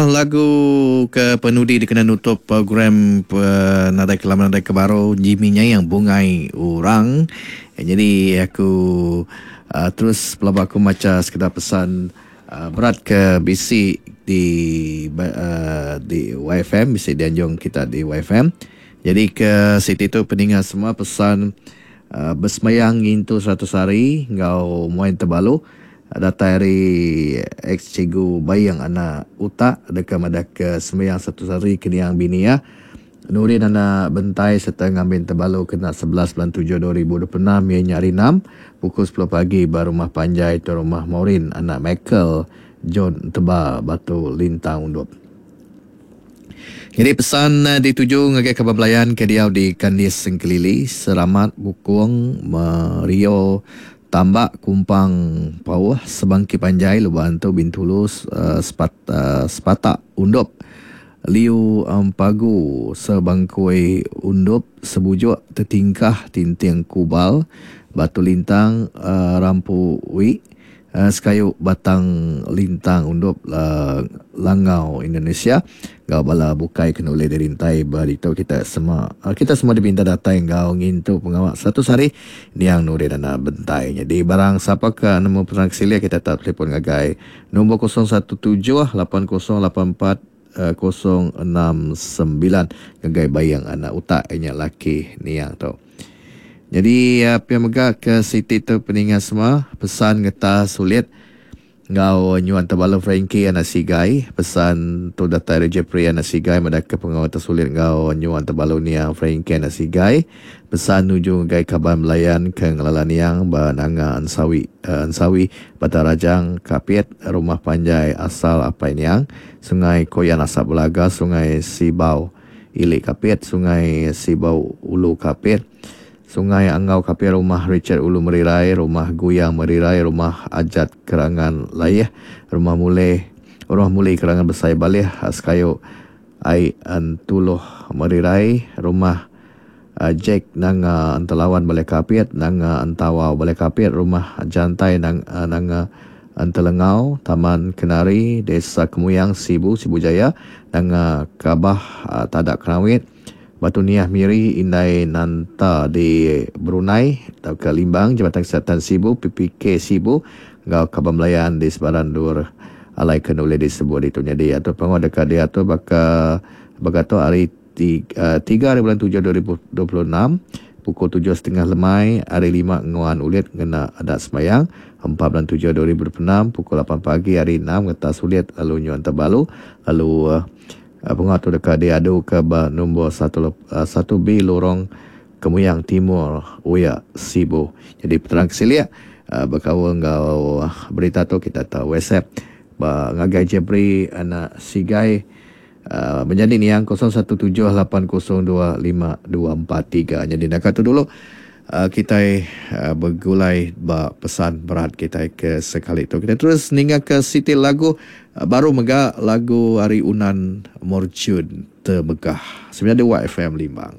Lagu ke penudi dikena nutup program Nadai Ke Lama Nadai Ke Baru Jimmy Nyayang Bungai Orang. Nyadi aku terus pelaba aku macha sekeda pesan berat ke bisi di di YFM bisi dianjung kita di YFM. Nyadi ke siti tu peninga semua pesan besemayang ngintu 100 hari enggau muai tebalu. Datai ari ex Cikgu Baying anak Utak deka madahka sembiang satu sehari ke niang bini iya, Nurin anak Bentai sereta ngambi Tebalu kena 11 bulan tujuh 2026 iya nya hari Enam, pukul sepuluh pagi ba Rumah Panjai Tuan Rumah Maureen anak Michael John Enteba Batu Lintang Undup. Nyadi pesan dituju ngagai kaban belayan ke diau di Kandis Sengkelili, Seramat, Bukong, Merio, Tambak, Kumpang, Pauh, Sebangki Panjai, Lubok Antu, Bintulu, Sepatak, Undup, Liu Empagu, Sebangkui, Undup, Sebujuk, Tetingkah, Tinting Kubal, Batu Lintang, Rampu Wi, Sekayu Batang Lintang Undup Langau Indonesia enggau bala bukai ke nulih dirintai ba ditu kita sema kita semua dipinta datai enggau ngintu pengawa 100 hari niang Nurin Anak Bentai. Nyadi barang sapa ke nemu penerang ke silik kita tau telefon ngagai nombor 017 8084 069 ngagai Bayang Anak Utak inya laki niang tu. Nyadi pia mega ke siti tu peninga semua pesan ngeta sulit enggau nyuan tebalu Frankie anak Sigai. Pesan tu datai ari Jeffrey anak Sigai madah ke pengawa tesulit enggau nyuan tebalu niang Frankie anak Sigai. Pesan nuju ngagai kaban belayan ke ngelala niang ba Nanga Ensawi Ensawi Batang Rajang Kapit Rumah Panjai asal apai niang Sungai Koyan Asap Belaga Sungai Sibau Ili Kapit, Sungai Sibau Ulu Kapit, Sungai Anggau Kapit Rumah Richard Ulu Merirai, Rumah Guyang Merirai, Rumah Ajat Kerangan Laih, Rumah Muleh Rumah Muli Kerangan Besai Balih, Sekayu Ai Entuloh Merirai, Rumah Jack Nanga Entelawan Balai Kapit, Nanga Entawau Balai Kapit, Rumah Jantai Nanga Entelengau, Taman Kenari, Desa Kemuyang, Sibu, Sibu Jaya, Nanga Kabah, Tadak Kerawit, Batu Niah Miri, Indai Nanta di Brunei tauka Limbang, Jabatan Kesihatan Sibu, PPK Sibu enggau kaban belayan di sebarang endur alai ke nulih disebut ditu. Nyadi atur pengawa deka diatur baka baka tu hari 3 hari bulan 7 2026 pukul tujuh setengah lemai hari lima nguan ulit ngena adat sembahyang 4 bulan 7 2026 pukul 8 pagi hari enam ngetas ulit lalu nyuan tebalu lalu pengawa tu deka diaduka ba nombor 1 B Lorong Kemuyang Timur Uya Sibu. Jadi peterang ke silik bekaul enggau berita tu kita tau WhatsApp ba ngagai Jebri anak Sigai Menyadi niang 0178025243. Nyadi naka tu dulu kitai begulai ba pesan berat kitai ke sekali tu. Kitai terus ninga ke siti lagu baru mega lagu ari Unan Morjun Temegah. Semina di Wai FM Limbang.